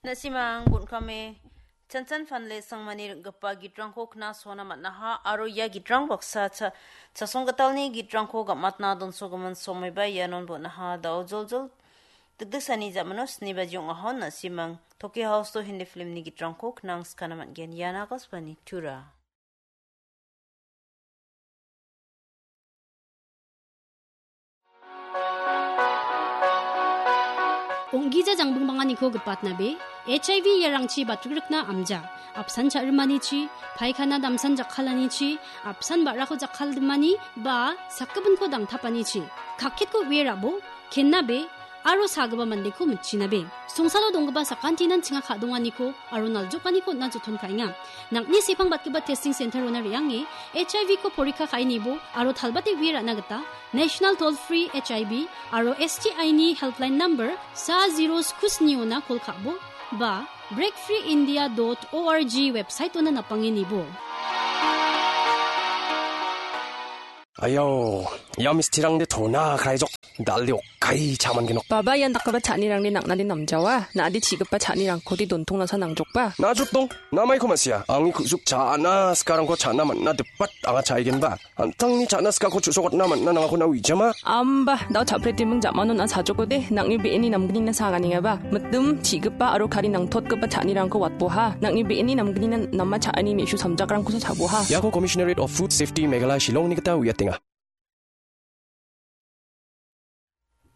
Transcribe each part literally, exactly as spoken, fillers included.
Na·simang bon·kame Chanchan Phanle Sangmani ring·gipa gitrangko knasona man·aha aro ia gitrang baksa cha-, chasonggitalni gitrangko gam·atna donsogimin somaiba ianon bon·aha. Da·o joljol dikdiksani ja·mano sni baji ong·ahon na·simang Toki House-o Hindi filmni gitrangko knangskana man·gen. Ian Akashvani Tura. Ong·gija jangbingbanganiko gipatnabe, H I V iarangchi batrikrikna amja, apsan cha·rimanichi, paikana damsan jakkalanichi, apsan ba·rako jakkaldimani, ba sakgipinko dangtapanichi, kakketko uie rabo, kennabe, aro sagipa mandeko mitchinabe. Songsalo donggipa sakantinan chinga ka·donganiko aro naljokaniko on·na joton ka·enga. Nang·ni sepang batgipa testing center-ona re·ange H I V-ko porikka ka·e nibo aro talbate uie ra·na gita National Toll Free H I V aro S T I-ni helpline number sa zero sku sniona kol ka·bo ba break free india dot org website-ona napange nibo. Ayo, ia mistirangde tona kaijok. Dal·de okkai cha·mangenok. Baba, ian dakgipa cha·anirangde nang·nade namjawa. Na·ade chi·gipa cha·nirangkode dontongnasa nangjokba. Najotdong, namaiko ma·sia. Angni ku·suk cha·na sikarangko cha·na man·na dipat anga cha·aigenba. An·tangni cha·na sikako chu·sokatna man·na nangako na uijama. Amba, dao cha·pretiming ja·manon a sajokode, nang·ni be·eni namgnina saganengaba. Mitim, chi·gipa aro kari nangtotgipa cha·anirangko watboha. Nang·ni be·eni namgnina nama cha·ani me·su samjakrangkosa cha·boha. Iako Commissionerate of Food Safety Meghalaya Shillongni gita uiatenga.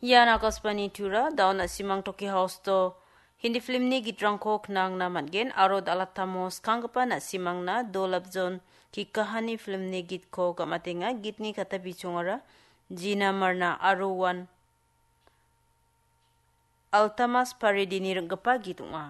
Ian Akashvani Tura, dao na·simang Toki House-o Hindi filmni gitrangko knangna man·gen aro dal·atamo skanggipa na·simangna Dolabjon Kikahani filmni gitko gam·atenga. Gitni kata bichongara Jina Marna aro Wan Altamas Paredini ring·gipa git ong·a.